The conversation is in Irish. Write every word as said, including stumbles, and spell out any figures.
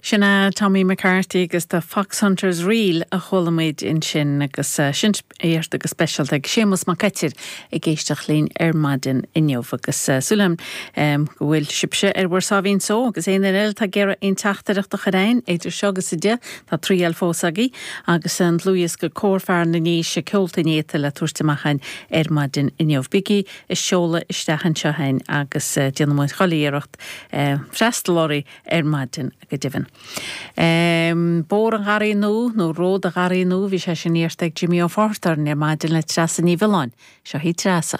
Sin é Tommy McCarthy agus The Foxhunters Reel a chuala muid ansin agus uh, sin iarrta go speisialta ag Séamus Mac Coitir ag éisteacht linn ar maidin inniu agus uh, súil agam um, go bhfuil sibhse ar bhur sáimhín só agus aon duine eile tá ag iarraidh aon teachtaireacht a chur chugainn idir seo agus a deich tá triail fós agaibh agus an dlúthdhiosca Cór Fear na nDéise Ceolta Néata le tabhairt amach ar maidin inniu. Bígí ag seoladh isteach anseo chugainn agus uh, déanfaidh muid chuile iarracht uh, freastal oraibh ar maidin go deimhin. Um, Bóthar an Gharraí Nua nó Ród an Gharraí Nua bhí sé sin iarrta ag Jimmy Ó Fátharta ar maidin le Treasa Ní Mhiolláin, seo hí Treasa.